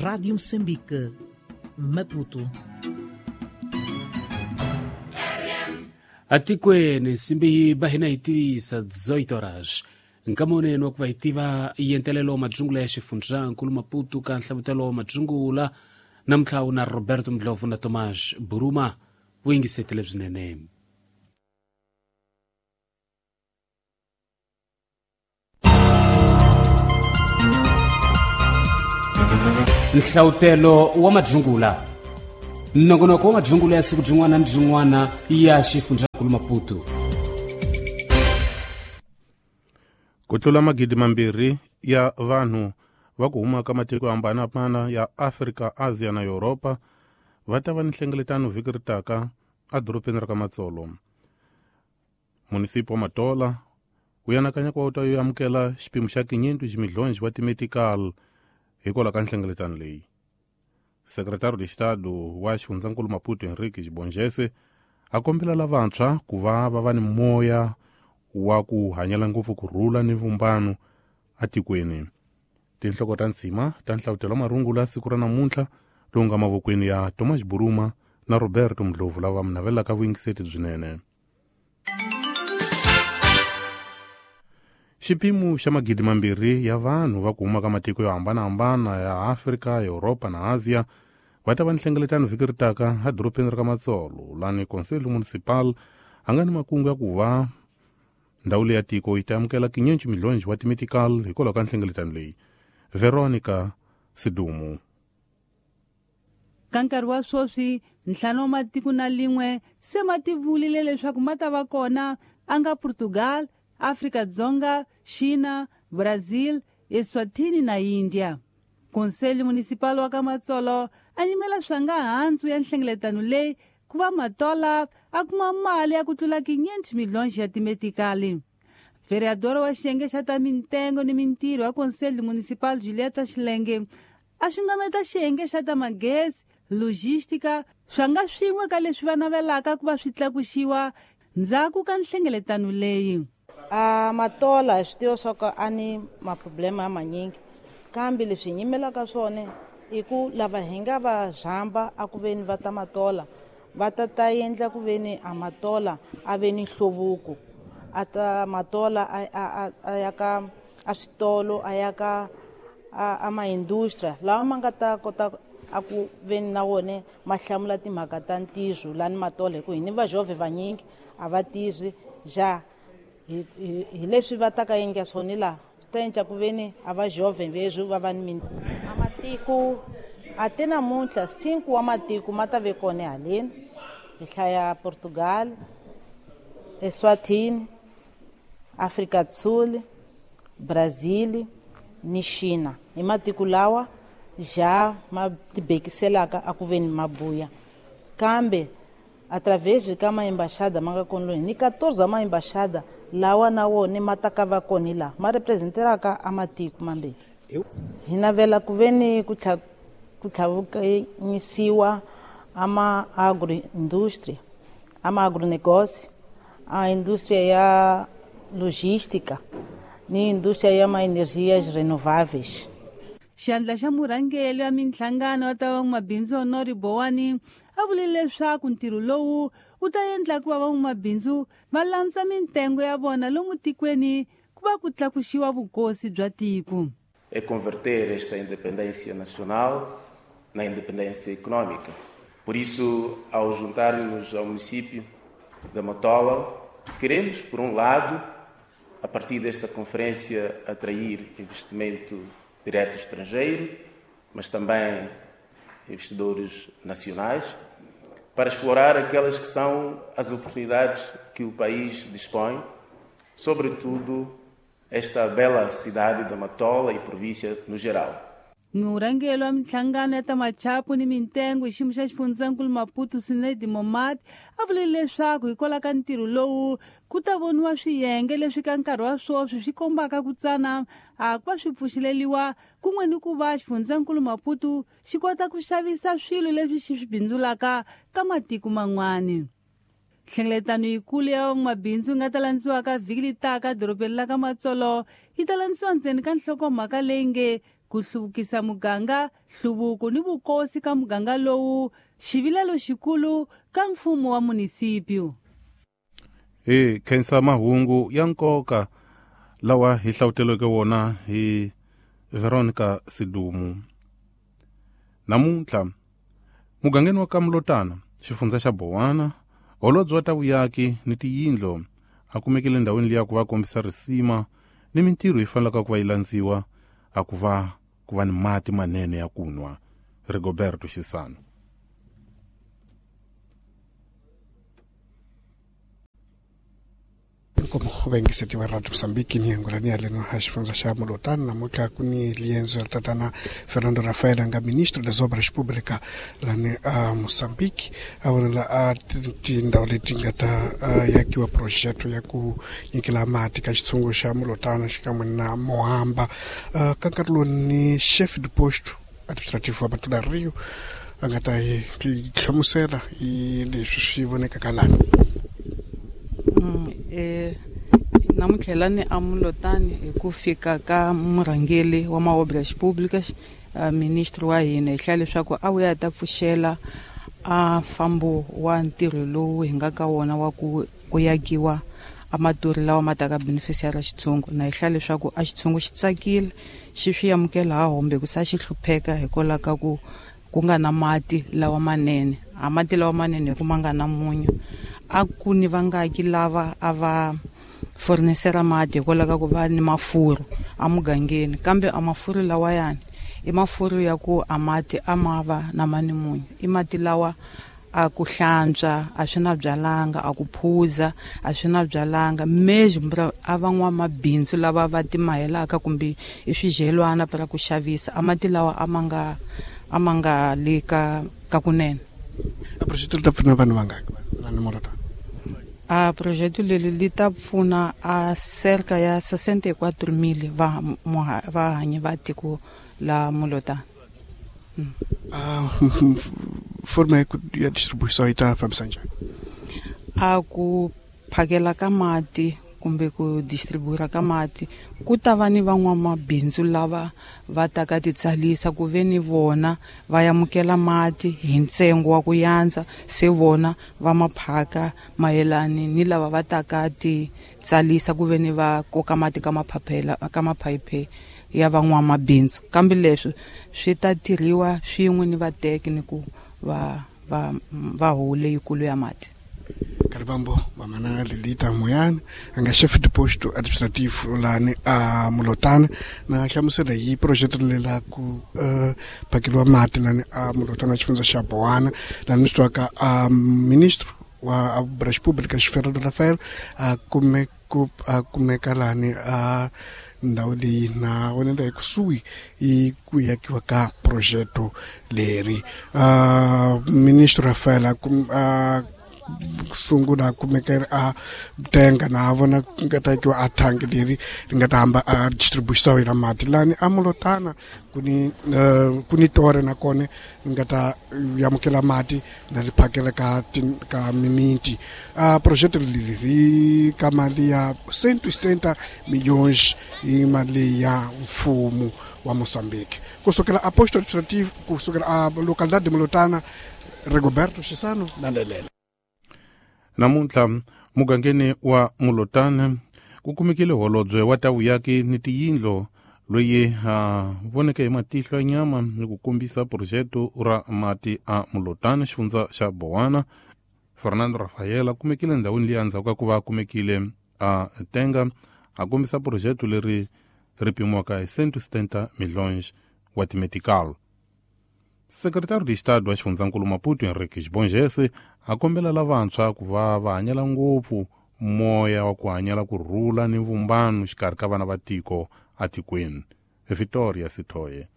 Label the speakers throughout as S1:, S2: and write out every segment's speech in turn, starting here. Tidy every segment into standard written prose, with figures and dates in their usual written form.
S1: Rádio Moçambique, Maputo.
S2: Atikweni nsimbi bahina yi tivisa 18 horas nkamoneni wa ku va hi tiva yentelelo wa madzungula ya xifundzankulu Maputo ka nhlavutelo wa madzungula namuntlha wu na Roberto Ndlovu na Tomas Buruma vuyingisetele byinene. Nhlavutelo wa madzungula, nongonoko wa madzungula ya siku byin'wana ni byin'wana ya xifundzankulu Maputo.
S3: Ku tlula 2,000 ya vanhu va ku huma ka matiko yo hambanahambana ya Afrika, Asia na Yuropa va ta va ni nhlengeletano vhiki ri taka edorobeni ra ka Matsolo. Munisipi wa Matola wu anakanya ku va wu ta yo amukela xipimo xa 500 ximidlonji wa timedical hikwalaho ka nhlengeletano leyi. Sekretari de Estado wa xifundzankulu Maputo Henrique Xibongese a kombela lavantshwa ku va va va ni moya wa ku hanyela ngopfu ku rhula ni vumbano atikweni. Tinhloko ta ntshima ta nhlavutelo wa marungula siku ra namuntlha lowu nga mavokweni ya Thomas Buruma na Roberto Ndlovu lava mi navelaka vuyingiseti byinene. Xipimo xa 2,000 ya vanhu va ku huma ka matiko yo hambanahambana ya Afrika, Yuropa na Asia va ta va ni nhlengeletano vhiki ri taka edorobeni ra ka Matsolo, lani Conselho Municipal a nga ni makungu ya ku va ndhawu leyi ya tiko yi ta amukela 500 milhonji wa timedical hikwalaho ka nhlengeletano leyi. Veronica Sidumu.
S4: Ka nkarhi wa sweswi 5 wa matiko na lin'we se ma tivulile leswaku ma ta va kona, a nga Portugal, Afrika Dzonga, China, Brazil, Eswatini na India. Conselho Municipal wa ka Matsolo a nyimela swa nga handzu ya nhlengeletano leyi ku va Matola a kuma mali ya ku tlula 500 milhonji ya timetikali. Vereador wa xiyenge xa ta mintengo ni mintirho ya Conselho Municipal Julieta Xilenge a xungameta xiyenge xa ta magezi, logistica, swa nga swin'we ka leswi va navelaka ku va swi tlakuxiwa ndzhaku ka nhlengeletano leyi.
S5: A Matola hi swi tiva swa ku a ni maproblema ya manyingi, kambe leswi hi nyimelaka swona i ku lava hi nga va zhamba a ku veni va ta Matola va ta ta endla ku veni a Matola a ve ni nhluvuko, a ta Matola a ya ka a switolo, a ya ka a maindustria lawa ma nga ta kota a ku veni na wona ma hlamula timhaka ta ntirho lani Matola, hi ku hi ni vajove vanyingi a va tirhi ja hi leswi va ta ka endla swona laha swi ta endla ku veni a va jove veswi va va ni a matiko a ti namuntlha 5 wa matiko ma ta ve kona haleni, hi hlaya Portugal, Eswatini, Afrika Sul, Brazil ni China. Hi matiko lawa ja ma tibekiselaka a ku veni mabuya, kambe através ka maembaxada ma nga kona loyi ni 14 wa maembaxada lawa na wona ma ta ka va kona laha ma representeraka a matiko mambirhi. Hi navela ku veni ku tlhavukanyisiwa a ma agroindustria, a ma agronegócio, a indústria ya logística ni indústria ya ma energias renováveis.
S4: Xandla xa murhangeri wa minhlangano wa ta van'wamabindzu Honori Bowani a vule leswaku ntirho lowu wu ta endla ku va van'wamabindzu va landza mintengo ya vona lomu tikweni ku va ku tlakuxiwa vukosi bya tiko.
S6: É converter esta independência nacional na independência econômica. Por isso, ao juntar-nos ao município da Matola, queremos, por um lado, a partir desta conferência, atrair investimento direto estrangeiro, mas também investidores nacionais, para explorar aquelas que são as oportunidades que o país dispõe, sobretudo esta bela cidade da Matola e província no geral.
S4: Murhangeri wa minhlangano ya ta machapu ni mintengo hi xiyimo xa xifundzankulu Maputo Sinedi Momad a vule leswaku hikwalaho ka ntirho lowu ku ta voniwa swiyenge leswi ka nkarhi wa sweswi swi kombaka ku tsana a ku va swi pfuxeleriwa kun'we ni ku va xifundzankulu Maputo xi kota ku xavisa swilo leswi xi swi bindzulaka ka matiko man'wana. Nhlengeletano yikulu ya van'wamabindzu yi nga ta landziwaka vhiki leri taka dorobeni la ka Matsolo yi ta landziwa ndzeni ka nhlokomhaka leyi nge Ku hluvukisa muganga, hluvuko ni vukosi ka muganga lowu, xivilelo xikulu ka mfumo wa munisipyu.
S3: Hi khensa mahungu ya nkoka lawa hi hlawuteleke wona hi Veronica Sidumu. Namuntlha mugangeni wa Kamlotana, xifundza xa Bowana, holobye wa ta vuyaki ni tiyindlo a kumekile ndhawini liya ku va kombisa risima ni mintirho yi fanelaka ku va yi landziwa a ku va ni mati manene ya ku nwa. Rigoberto Xisano.
S7: Como vaingiseti va Radio Mozambique ni angolani ya leno a xifundza xa Mulotana namuntlha ku ni liendzo ra tatana Fernando Rafael a nga ministro das Obras Públicas lani a Mozambique a vonela a tindhawu leti nga ta yakiwa projeto ya ku nyikela mati ka xitshungu xa Mulotana xikan'we na Mohamba. Ka nkarhi lowu ni chef de posto administrativo wa Matula Rio a nga ta hi hlamusela hi leswi swi vonekaka lani.
S8: Namuntlha lani a Mulotani hi ku fika ka murhangeri wa ma-obras públicas, ministro wa hina, hi hlaya leswaku a wuya ta pfuxela a fambo wa ntirho lowu hi nga ka wona wa ku yakiwa a maturi lawa ma taka beneficiary xitshungu. Na hi hlaya leswaku a xitshungu xi tsakile, xi swi amukela ha hombe ku sa xi hlupheka hikwalaho ka ku nga na mati lawa manene. A mati lawa manene hi ku ma nga na munyu. A ku ni vangaki lava a va fornisera mati hikwalaho ka ku va ni mafurhu emugangeni, kambe a mafurhu lawayani i mafurhu ya ku a mati a ma va na mani munyu. I mati lawa a ku hlantswa a swi na byalanga, a ku phuza a swi na byalanga. Mesmo a van'wamabindzu lava va timahelaka kumbe i swidyelwana para ku xavisa, a mati lawa a ma nga le ka kunene.
S7: A projeto li ta pfuna vanhu vangaki lani Mulotana?
S8: A projeto leri li ta pfuna a cerca ya 64,000 vahanyi va tiko la Mulotana.
S7: A forma ya distribuição yi ta fambisa njhani?
S8: A ku phakela ka mati kumbe ku distribuira ka mati ku ta va ni van'wamabindzu lava va taka titsalisa ku ve ni vona va amukela mati hi ntsengo wa ku yandza, se vona va maphaka mayelani ni lava va taka titsalisa ku ve ni va koka mati ka maphaphela ka maphayiphe ya van'wamabindzu. Kambe leswi swi ta tirhiwa swin'we ni vateki ni ku va hole yikulu ya mati.
S7: Karibambo vamana Lilita Moyana a nga chef de posto administrativo lani a Mulotana na hlamusela hi projeto lela ku phakeliwa mati lani a Mulotana xifundza xa Bowana lani swi twaka a ministro wa Obras Públicas Fernando Rafael a kumeka lani a ndhawu leyi na vonela hi kusuhi i ku yakiwa ka projeto leri. Ministro Rafael a sungula kumeka a tenga na vona nga ta yakiwa a thangi leri ri nga ta hamba a distribuição ya mati lani a Mulotana ku ni tore na kone nga ta amukela mati na ri phakela ka mimiti. A projeto leri ri ka mali ya 170 milhões hi mali ya mfumo wa Mozambique. Kusukela a posto administrativo, kusukela a localidade de Mulotana, Rigoberto Xisano na Lelela.
S3: Namuntlha mugangeni wa Mulotana ku kumekile holobye wa ta vuyaki ni tiyindlo loyi a voneke hi matihlo ya nyama ni ku kombisa projeto ra mati a Mulotana xifundza xa Bowana. Fernando Rafael a kumekile ndhawini liya endzhaku ka ku va a kumekile a tenga a kombisa projeto leri ri pimiwaka hi 170 milhões wa timetical. Secretário de Estado wa xifundzankulu Maputo Henrique Bongese a kombela lavantshwa ku va va hanyela ngopfu moya wa ku hanyela ku rhula ni vumbano xikarhi ka vana va tiko atikweni. Vitória Sithoye.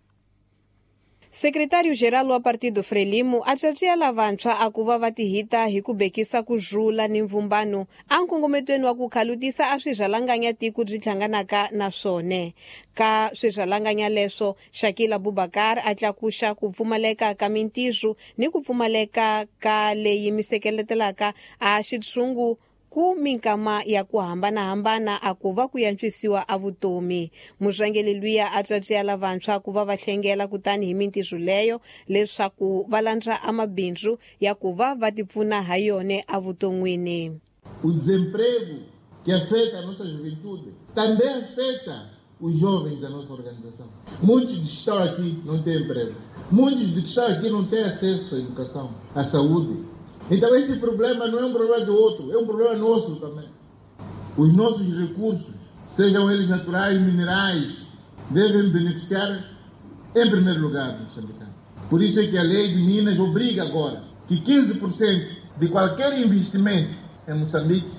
S9: Secretário-geral wa Partido Frelimo a caciya lavantshwa a ku va va tihita hi ku bekisa ku rhula ni mvumbano a nkongometweni wa ku khalutisa a swirhalanganya tiko byi hlanganaka na swona. Ka swirhalanganya leswo, Shakila Bubakar a tlakuxa ku pfumaleka ka mintirho ni ku pfumaleka ka leyi mi sekeletelaka a xitshungu Ku minkama ya ku hambanahambana a ku va ku yantswisiwa a vutomi. Murhangeri luya a tswatswiya lavantshwa ku va va hlengela kutani hi mintirho leyo leswaku va landza amabindzu ya ku va va tipfuna ha yona evuton'wini.
S10: O desemprego que afeta a nossa juventude também afeta os jovens da nossa organização. Muitos dos que estão aqui não têm emprego. Muitos dos que estão aqui não têm acesso à educação, à saúde. Então esse problema não é um problema do outro, é um problema nosso também. Os nossos recursos, sejam eles naturais, minerais, devem beneficiar em primeiro lugar o moçambicano. Por isso é que a lei de Minas obriga agora que 15% de qualquer investimento em Moçambique